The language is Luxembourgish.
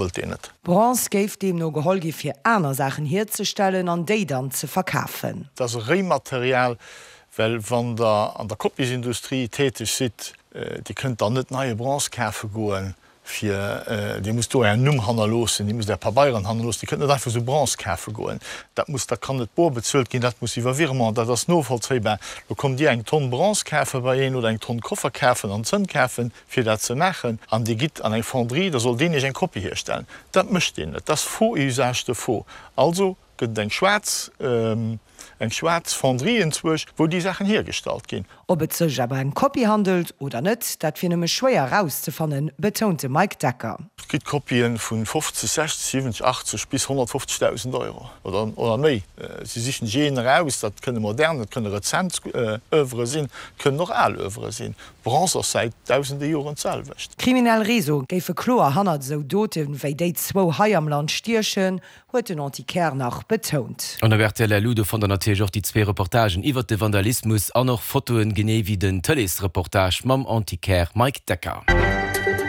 Wëllt deen net. Bronze géif deemno geholl gi fir aner Saachen hierzestellen an déi dann ze verkafen. Dat ass e Réimaterial, well wann Der an der Kopiesindustrie täteg sidd, Dir kënnt dann net neie Bronze kafe goen, fir, Dir musst do Ären Numm hannerloossen, Dir musst Är Pabeieren hannerloossen, Dir kënnt net einfach esou Bronze kafe goen. Dat muss, dat kann net bor bezuelt ginn, dat muss iwwer Virement, dat ass novollzéibar. Lo kommt Dir eng Tonn Bronze kafe bei een oder eng Tonn Koffer kafen an Zënn kafen, fir dat ze maachen, an Dir gitt an eng Fonderie, da soll deen Iech eng Kopie hierstellen. Dat mécht deen net. Dat ass faux et usage de faux. Also gëtt et eng schwaarz, eng schwaarz Fonderie enzwuesch, wou déi Saachen hiergestallt ginn. Ob et sech awer eng Kopie handelt oder net, dat wier nëmme schwéier erauszefannen, betount de Mike Decker. Et gëtt Kopien vu 50, 60, 70, 80 bis 150.000 Euro oder, oder méi. Si sichen sech een eraus, dat kënne modern, dat kënne rezent Oeuvre sinn, et kënnen och al Oeuvre sinn. Bronze ass säit dausende Joren d'selwecht. Kriminell Réseaue géife kloer hannert esou Dote wéi déi zwou hei am Land stiechen, huet den Antiquaire nach betount. An op rtl LU, do fannt der natierlech och déi zwee Reportagen iwwert de Vandalismus an och Fotoen, genee wéi den Tëleesreportage mam Antiquaire Mike Decker.